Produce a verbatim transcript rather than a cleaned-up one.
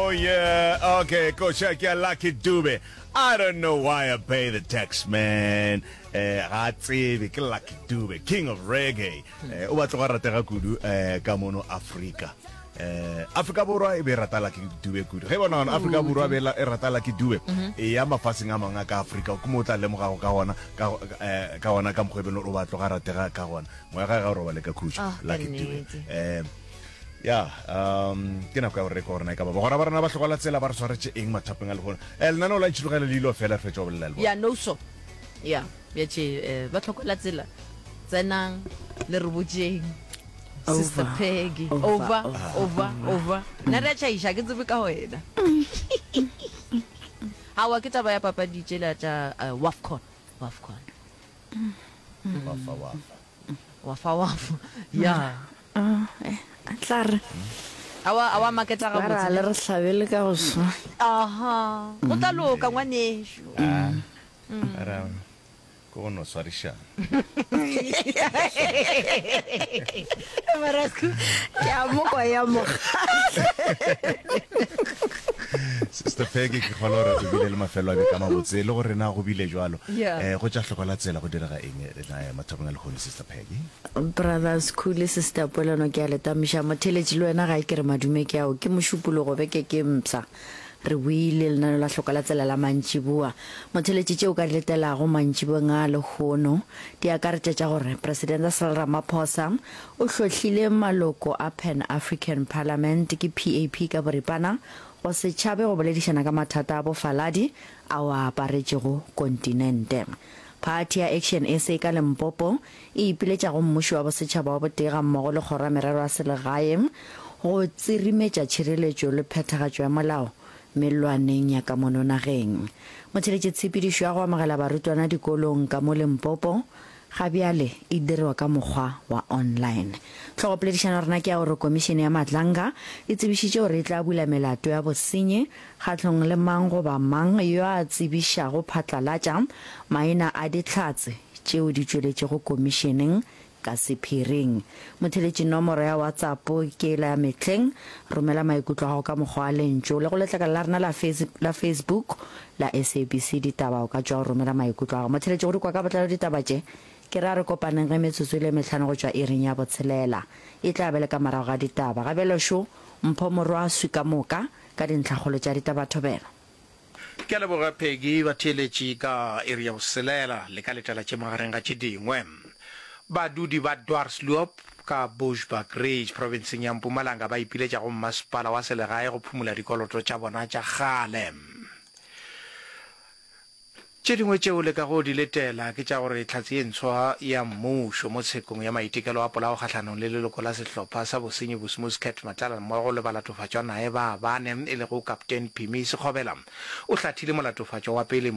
Oh yeah, okay, koša ke ya Lucky Dube. I don't know why I pay the tax man. Eh ga a tsebe ke Lucky Dube, king of reggae. Eh o batla go ratega kudu eh ka mono Afrika. Eh Afrika Borwa e be e rata Lucky Dube kudu. Ge bona gona Afrika Borwa be e rata Lucky Dube. E ya mafaseng a mangwe a ka Afrika ke mo o tla lemogago ka gona ka eh, ka gona ka mokgwa e beng o batla go ratega ka gona. Moya ga ga o robale ka khutšo Ah, ka Lucky Dube. nnete. Eh ya um ke nako ya gore re kwa gore na e ka ba bagora ba rena ba hlokola tsela ba re swaretše eng mathapeng a lehono um lenaneo la ntšhilogele le ilo fela re fetša go bolela le bona ya no so ya bja tše eh, ba tlhokola tsela tsenang le re botšeng sister Over. Peggy Over, over over, over over nna re a tšhaiša ke tsebe ka wena awa ke taba ya papadi tšela tša eh, wafcon wafcon wafa wafa wafa wafa ya Ah, eh, a tla re awa awa maketa ba ra le gabotse re hlabele ka go swa aha go tla loka ngwanešu Ah, ra ke go no swarišana Marasku. ke a mokwa ya mogatla sister Peggy ke kgolo gore o bile le mafelo a beka mabotse le gore na go bile jwalo Yeah. um go tša hlokola tsela go direga eng eh, mathapeng a lehono sister Peggy brothers cool sister polelo ke a letamiša motheletši le wena ga e ke re madume ke ao ke mošupologo beke ke mpsha re buile lenaneo la hloka la tsela la mantšiboa motheletši tšeo ka di letelago mantšiboeng a lehono di akaretša tša gore presidente Cyril Ramaphosa o hlohlile maloko a Pan African Parliament ke PAP ka boripana go se tšhabe go boledišana ka mathata a bofaladi ao a aparetšego kontinente Phathi ya Action SA ka Limpopo e ipiletša go mmušo wa bosetšhaba wa botee ga mmogo le kgoro ya merero ya selegae go tsirimetša tšhireletšo le phethagatšo ya molao mellwaneng ya ka mono nageng. Motheletši tshepedišo ya go amogela barutwana dikolong ka mo Limpopo ga bjale e dirwa ka mokgwa wa online. Tlhogopoledišano ya rena ke ya gore komišene ya Madlanga e tsebišitše gore e tla bula melato ya bosenyi kgahlong le mang goba mang yo a tsebišago phatlalatša maina a dihlatse tšeo di tšweletšego komišeneng ka sephiring. Motheletši nomoro ya WhatsApp ke la mehleng romela maikutlo a gago ka mokgwa wa lentšu le go letlakala la rena la, face, la Facebook la SABC ditaba o ka tšwa o romela maikutlo a gago. Motheletši go di kwa ka botlalo ditaba tše ke ra re kopaneng ge metsotso e le mehlano go tšwa iring ya botshelela e tla be le ka morago ga ditaba ga bjalo šo mpho morwaswi ka moka ka dintlhakgolo tša ditaba thobela Ke a leboga Peggy batheeletši ka iri ya boselela le ka letela tše magareng ga tše dingwe. Badudi ba Dwarsloop ka Bushbuckridge profenseng ya Mpumalanga ba ipiletša go mmasepala wa selegae go phumola dikoloto tša bona tša kgale. Tše dingwe tšeo le kago di letela ke tša gore hlatse ye ntshwa ya mmušo mo tshekong ya maitekelo a polao kgahlanong le leloko la sehlopha sa bosenyi Bosmus Cat Matlala mmogo le balatofatšwa nae ba bane e lego Kaptein Phimi Sekgobela o hlathile molatofatšwa wa pele